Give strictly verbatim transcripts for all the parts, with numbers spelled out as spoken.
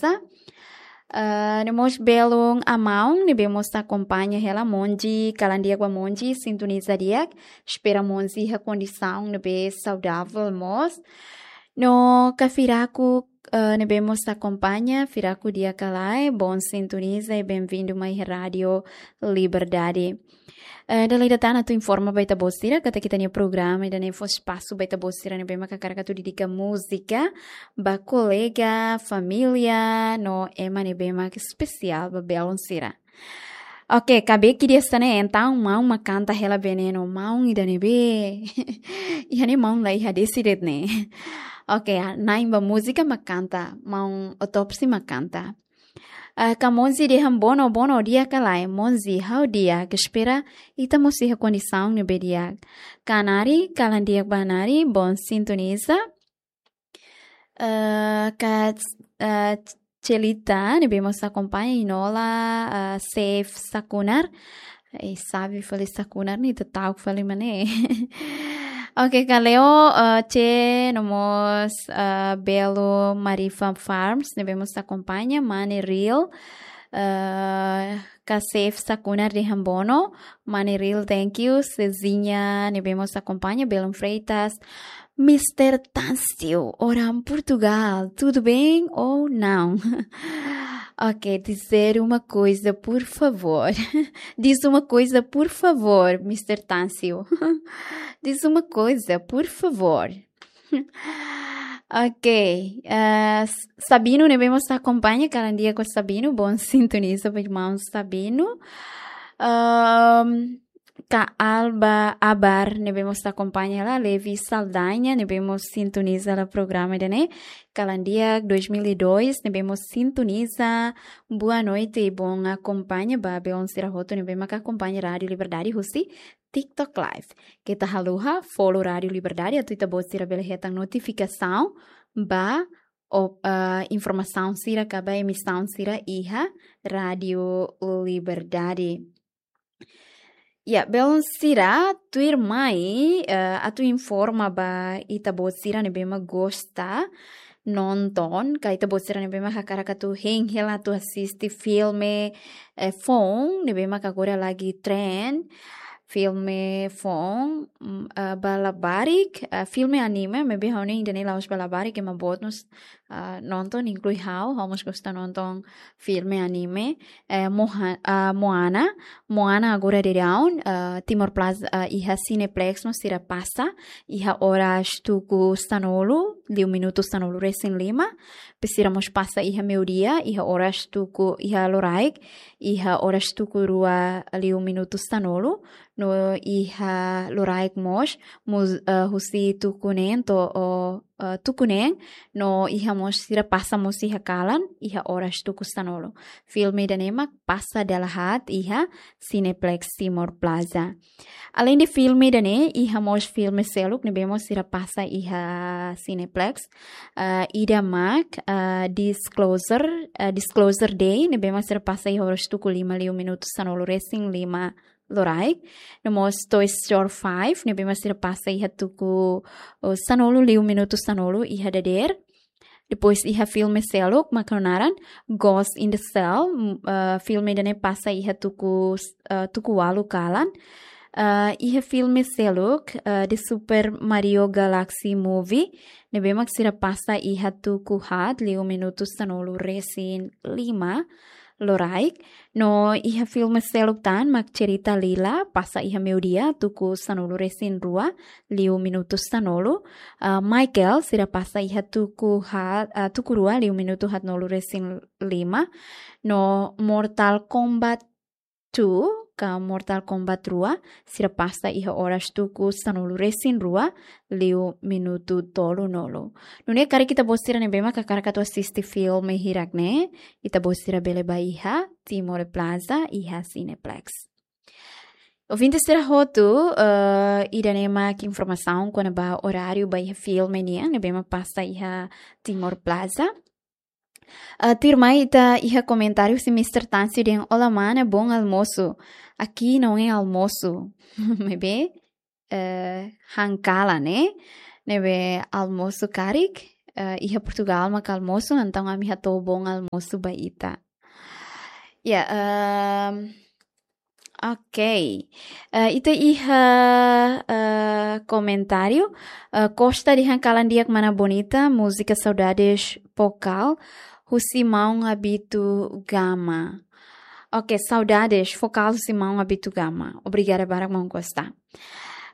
Plaza. Ah, no mós belun maun ne'ebé mós akompaña hela, Monji, kalan di'ak ba Monji, sintoniza di'ak, espera Monji iha kondisaun ne'ebé saudável mós. No ka Firaku, ah, ne'ebé mós akompaña, Firaku di'ak ka lae, bom sintoniza i bem-vindo mai Rádio Liberdade. Eh, dala ida tan atu informa ba ita-boot sira katak ita-nia programa ida-ne'e fó espasu ba ita-boot sira ne'ebé mak hakarak atu dedika múzika ba kolega, família, no ema ne'ebé mak espesiál ba belun sira. Oke, karik ida hanesan ne'e, entaun maun mak kanta hela Veneno, maun ida ne'ebé. Iha ne'e maun la iha dezde ne'e. Oke, ah, na'in ba múzika mak kanta, maun Otopsi mak kanta. Ah, ka Monji dehan bono, bono di'ak ka lae, Monji ha'u di'ak, espera ita mós iha kondisaun ne'ebé di'ak. Ka Nari, kalan di'ak ba Nari, bom sintoniza. Ah, ka, ah, Celita, ne'ebé mós akompaña, Inola, ah, Safe Sakunar. Eh, sabe fali Sakunar ne'e, ita ta'uk fali mak ne'e. Oke, ka Leo, eh, C, no mós, eh, belun Marifa Farms, ne'ebé mós akompaña, Mane Real, eh, ka Safe Sakunar dehan bono, Mane Real, thank you, Cezinha, ne'ebé mós akompaña, belun Freitas, Mister Táncio, orang Portugal, tudo bem ou não? Ok, dizer uma coisa, por favor. Diz uma coisa, por favor, Mister Táncio. Diz uma coisa, por favor. Ok, eh, S-, Sabino ne'ebé mós akompaña, kalan di'ak ho Sabino, bom sintoniza ba irmaun Sabino. Ahm, ka Alba Abar, ne'ebé mós akompaña hela, Levi Saldanha, ne'ebé mós sintoniza hela programa ida-ne'e, kalan di'ak dois mil e dois, ne'ebé mós sintoniza, boa noite, bom akompaña ba belun sira hotu, ne'ebé mak akompaña Rádio Liberdade husi TikTok Live. Keta haluha, follow Rádio Liberdade, atu ita-boot sira bele hetan notifikasaun ba, o, ah, informasaun sira ka ba emisaun sira iha Rádio Liberdade. Ya, belun sira, tuirmai, eh, atu informa ba ita-boot sira ne'ebé mak gosta nonton, ka ita-boot sira ne'ebé mak hakarak atu hein hela atu asiste filme, eh, foun, ne'ebé mak agora lagi trend, filme foun, mm, eh, ba labarik, eh, filme anime, maibé ha'u hanoin ida-ne'e la'ós ba labarik, ema boot mós, ah, nonton, inklui ha'u, ha'u mós gosta nonton filme anime, eh, Moha-, ah, Moana. Moana agora daudaun, ah, Timor Plaza, ah, iha Cineplex mós sira pasa, iha oras tuku sanulu, liu minutu sanulu resin lima. Depois sira mós pasa iha meiudia, iha oras tuku, iha loraik, iha oras tuku rua liu minutu sanulu. No iha loraik mós, mós, ah, husi tuku neen to'o, ah, tuku neen, no iha mós sira pasa mós iha kalan, iha oras tuku sanulu. Filme ida-ne'e mak pasa dala haat iha Cineplex Timor Plaza. Aleinde filme ida-ne'e, iha mós filme seluk ne'ebé mós sira pasa iha Cineplex. Ah, ida mak, ah, Disclosure, ah, Disclosure Day, ne'ebé mak sira pasa iha oras tuku lima liu minutu sanulu resin lima loraik. No mós Toy Story five, ne'ebé mak sira pasa iha tuku, oh, sanulu liu minutu sanulu iha dadeer. Depois iha filme seluk, mak ho naran Ghost in the Shell, mm, eh, filme ida-ne'e pasa iha tuku, eh, tuku ualu kalan. Eh, iha filme seluk, eh, The Super Mario Galaxy Movie, ne'ebé mak sira pasa iha tuku haat liu minutu sanulu resin lima loraik. No iha filme seluk tan mak Cerita Lila, pasa iha meiudia, tuku sanulu resin rua, liu minutu sanulu. Ah, Michael, sira pasa iha tuku ha-, ah, tuku rua, liu minutu haatnulu resin lima. No Mortal Kombat two, ka Mortal Kombat rua, sira pasa iha oras tuku sanulu resin rua, liu minutu tolunulu. Nune'e karik ita-boot sira ne'ebé mak hakarak atu asiste filme hirak-ne'e, ita-boot sira bele bá iha Timor Plaza, iha Cineplex. Ouvinte sira hotu, eh, ida-ne'e mak informasaun kona-ba oráriu ba iha filme nian, ne'ebé mak pasa iha Timor Plaza. Ah, tuirmai ita iha komentáriu husi Mister Táncio dehan, "Olá, mana, bom almoço. Aqui não é almoço." Maibé, eh, han kalan, ne'e? Ne'ebé almoço karik, eh, iha Portugal maka almosu, entaun ami hato'o bom almosu ba ita. Ya, ehm, oke. Eh, ita iha, eh, komentáriu, eh, Costa dehan kalan di'ak mana Bonita, múzika Saudades Fokal, husi maun Abito Gama. Oke, Saudades Fokal husi maun Abito Gama. Obrigada barak maun Costa.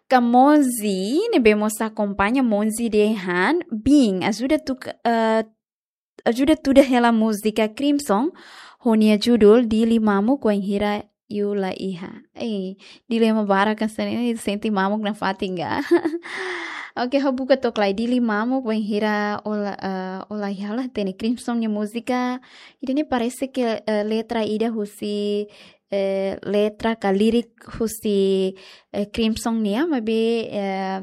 Ka Monzi, ne'ebé mós akompaña, Monzi dehan, bin, ajuda tu, eh, ajuda tuda hela múzika Crimson, ho nia judul Dili Mamuk wainhira yu la iha. Eh, dilema barak hanesan ne'e, sente mamuk nafatin ka. Oke, ha'u buka to'ok lai, Dili Mamuk wainhira ó la, eh, ó la iha, la hatene. Crimson nia múzika, ida-ne'e parese ke, eh, letra ida husi, eh, letra ka lirik husi, eh, Crimson nian, maibé, eh,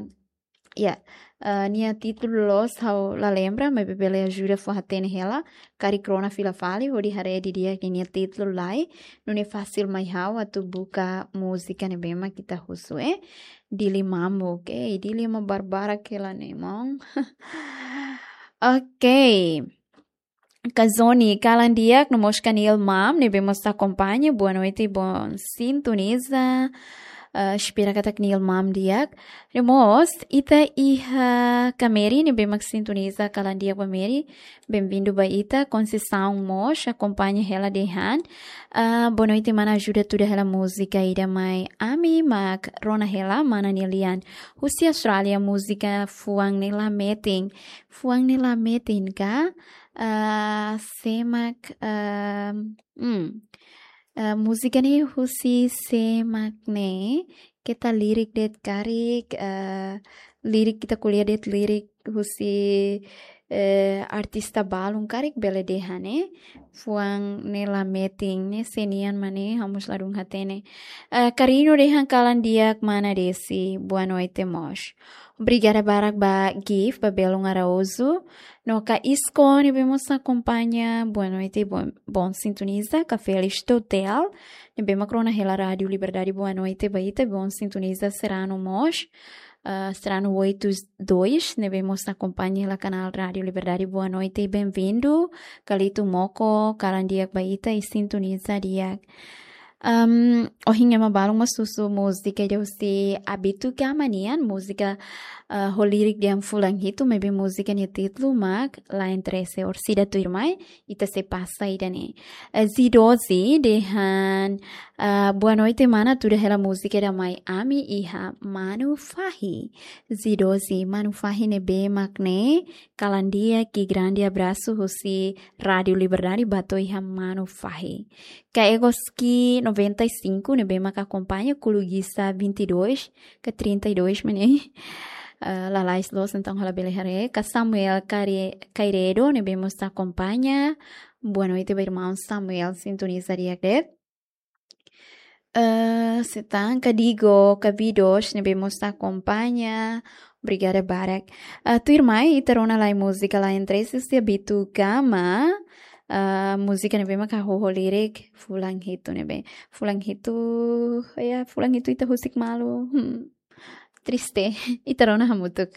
ya, eh, nia títulu loos ha'u la lembra, maibé bele ajuda fó hatene hela, karik rona fila fali, hodi haree didi'ak nia títulu lai, nune'e fasil mai ha'u atu buka múzika ne'ebé mak ita husu, eh, Dili Mamuk, eh, dilema barbarak hela ne'e maun. Oke. Ka Zoni, kalan di'ak, no mós ka Nil Mam, ne'ebé mós akompaña, boa noite, bom sintoniza. Eh, espera katak Nil Mam di'ak. No mós, ita iha ka Meri, ne'ebé mak sintoniza, kalan di'ak ba Meri. Benvindu ba ita, Conceição mós, akompaña hela dehan. Ah, boa noite, mana, ajuda tuda hela múzika ida mai ami, mak rona hela, mana nia lian. Husi Austrália, múzika Fuan Ne'e La Metin. Fuan Ne'e La Metin ka? Ah, sé mak, ah, hmm. Ah, múzika ne'e husi sé mak ne'e, keta lirik de'it karik, ah, lirik ita ko'alia de'it lirik husi, eh, artista balun karik bele dehan ne'e. Fuan Ne'e La Metin ne'e sé nian mak ne'e, ha'u mós ladún hatene. Eh, Karino dehan kalan di'ak mana Desi, boa noite mós. Obrigada barak ba Gift, ba Belun Araújo. No ka Isko ne'ebé mós akompaña, boa noite, bom, bom sintoniza. Ka Félix Totel, ne'ebé mak rona hela Rádio Liberdade, boa noite ba ita, bom sintoniza Serrano mós. Ah, Serrano oito dois, ne'ebé mós akompaña hela kanál Rádio Liberdade, boa noite, benvindu. Kalito Moko, kalan di'ak ba ita i sintoniza di'ak. Am, ohin ema balun mós husu múzika ida husi Abito Gama nian, múzika, ah, ho lirik dehan fulan hitu, maibé múzika nia títulu mak Lain Trese. Orsida tuirmai, ita sei pasa ida-ne'e. Eh, Zidozi dehan, ah, boa noite, mana, tuda hela múzika ida mai ami iha Manu Fahi. Zidozi, Manu Fahi ne'ebé mak ne'e, kalan di'ak i grande abraço husi Rádio Liberdade ba to'o iha Manu Fahi. Ka Egoski noventa e cinco, ne'ebé mak akompaña, Kulugisa vinte e dois, ka trinta e dois mak ne'e. Ah, lalais loos, entaun ha'u labele haree. Ka Samuel Care-, Cairedo, ne'ebé mós akompaña. Boa noite ba irmaun Samuel, sintoniza di'ak de'it. Eh, sé tan, ka Digo, ka Vidos, ne'ebé mós akompaña. Obrigada barak. Ah, tuirmai, ita rona lai múzika Lain Trese husi Abito Gama. Ah, múzika ne'ebé mak hahú ho lirik fulan hitu ne'ebé. Fulan hitu, ya, fulan hitu ita husik malu. Hmm. Triste. Ita rona hamutuk.